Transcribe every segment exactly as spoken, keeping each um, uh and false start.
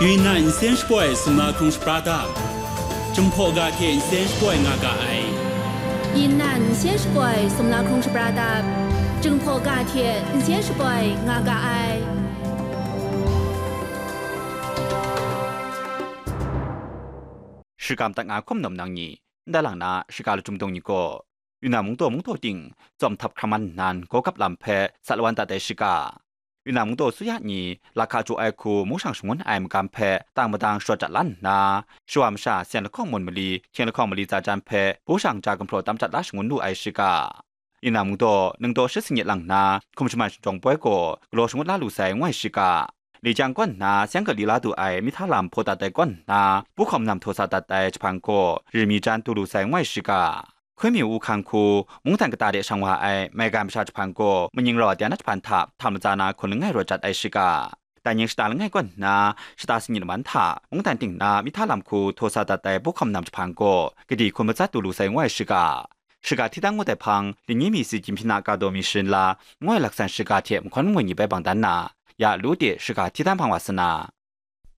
Yunnan nsen shapoi sumla hkrung shapra dap, Jinghpaw ga hte nsen shapoi nga ga ai. Yunnan nsen shapoi sumla hkrung shapra dap, Jinghpaw ga hte nsen shapoi nga ga ai. Shakam dat nga hkum nawm nang ni, ndai lang na shaka lachyum dung ni gaw, Yunnan mungdaw mungdaw ting, tsawm htap hkam man nnan, gawgap lam hpe sat lawan dat ai shaka. Yunnan mungdaw suya ni lahka jaw ai hku mungshang shangun ai magam hpe tang madang sharawt dat la nna, shawa masha syan lahkawng mun mali, hkying lahkawng mali tsa jan hpe bushang ja gumhpraw tam dat la shangun lu ai shaka. Yunnan mungdaw ningdaw shi sanit lang nna, hkum shaman shinjawng poi gaw galaw shangut la lu sai ngu ai shaka. Li jang kaw nna, seng gali la du ai mihta lam hpaw dat ai kaw nna, buhkawm nam htaw sa dat ai jahpan gaw, ri mi jan du lu sai ngu ai shaka. Hkun mi u hkang hku, mungdan kata de shang wa ai maigan masha jahpan gaw, maning rau a dai na jahpan hta htam latsa na hkun langai rawt jat ai shaka. Dai ning shata langai kaw nna, shata sanit laman hta, mungdan ting na mihta lam hku htaw sa dat ai buhkawm nam jahpan gaw, kadi hkun matsat du lu sai ngu ai shaka. Shaka hti dan ngut ai hpang, Linyi mi si Jin Hpyin a ka daw mi sharin la, ngu ai laksan shaka hte mahkawn mangwi ni bai bang dan na, ya lu de shaka hti dan hpang wa sa na.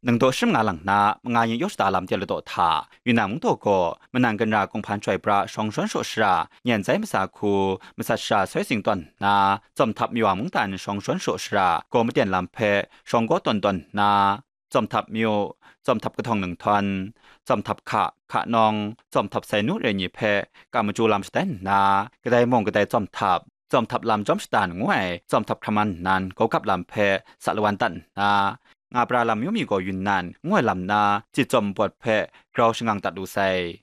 Ningdaw shi manga lang na, manga yin yaw shata lam de ladaw hta, Yunnan mungdaw gaw, manan ganra kunghpan chyoi pra shawng shawn shaw shara, nyan zai masa hku, masat shara soi sing tawn nna, tsawm htap mi wa mungdan shawng shawn shaw shara, gaw maten lam hpe shawng gaw tawn tawn nna, tsawm htap myu, tsawm htap kahtawng ninghthawn, tsawm htap hka, hka nawng, tsawm htap sai nu re ni hpe kam machyu lam shatai nna, kadai mung kadai tsawm htap, tsawm htap lam jawm shatan ngu ai tsawm htap hkam man nnan gawgap lam hpe sa lawan dat nna, nga pra lam myu mi gaw Yunnan ngu ai lam na, cit tsawm npawt hpe grau shangang dat lu sai.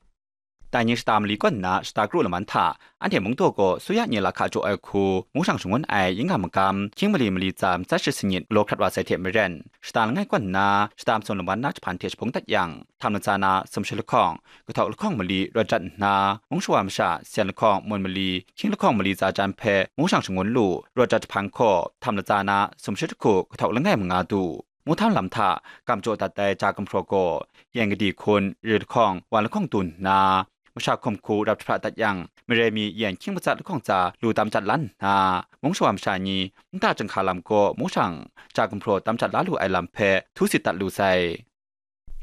Dai ning shata mali kaw nna shata kru laman hta, anhte mungdaw gaw suya ni lahka jaw ai hku, mungshang shangun ai yin nga magam, hkying mali mali tsa matsat shi sanit galaw hkrat wa sai hte maren, shata langai kaw nna, shata matsun laman na jahpan hte shaphung dat yang, htam latsa na sumshi lahkawng, kahtawk lahkawng mali rawt dat nna, mung shawa masha syan lahkawng mun mali, hkying lahkawng mali tsa jan hpe mungshang shangun lu, rawt dat jahpan gaw, htam latsa na sumshi lahku kahtawk langai manga du. Mungdan lam hta kam jaw dat ai ja gumhpraw gaw, yan kadi hkun, ri lahkawng, wan lahkawng du nna, masha hkum hku rap jahpra dat yang, mare mi yan hkying matsat lahkawng tsa lu tam jat la nna, mung shawa masha ni, nta chyinghka lam gaw mungshang ja gumhpraw tam jat la lu ai lam hpe htu sit dat lu sai.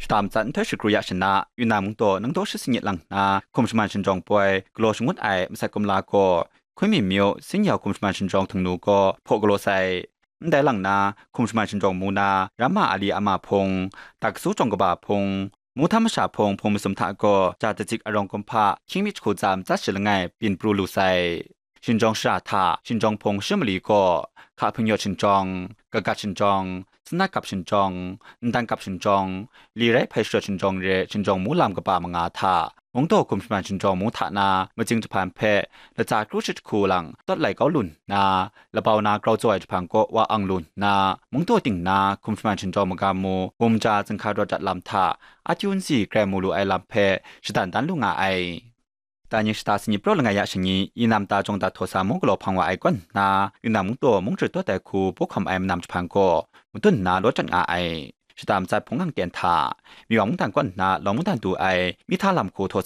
Shata matsat nhtoi shakru ya shana, Yunnan mungdaw ningdaw shi sanit lang nna, hkum shaman shinjawng poi galaw shangut ai masat kumla gaw, Hkun mi myu, Sin Yau hkum shaman shinjawng htingnu gaw hpaw galaw sai. Ndai lang na, hkum shaman shinjawng mu na, Ramma Ali Ama hpung, Daksu Jawng Kaba hpung, Muhtam Masha hpung, hpung masum hta gaw, ja datsit arawng kumhpa, hkying mi jahku tsa matsat shi langai byin pru lu sai. Shinjawng shara hta, shinjawng hpung shi mali gaw, Hka Hping Yawt shinjawng, Kagat shinjawng, Sanat Kap shinjawng, Ndan Kap shinjawng, Li Rai Hpai Sharawt shinjawng re shinjawng mu lam kaba manga hta, Mungdaw hkum shaman shinjawng mu hta na, Majing jahpan hpe latsa kru shi jahku lang tawt lai kau lu nna, labau na grau tsaw ai jahpan kaw wa ang lu nna, Mungdaw ting na hkum shaman shinjawng magam mu, Bumja zinghka rawt dat lam hta, Atyu nsi grai mu lu ai lam hpe shadan dan lu nga ai. Dai ning shata sanit praw langai ya shangi, Yunnan mata jawng dat htaw sa mung galaw hpang wa ai kaw nna, Yunnan mungdaw mung jahtum tawt ai hku buhkawm ai manam jahpan gaw, madun nna law jat nga ai. Shata matsat hpung ngang ten hta, Myiwa mungdan kaw nna lawng mungdan du ai mihta lam hku htaw sa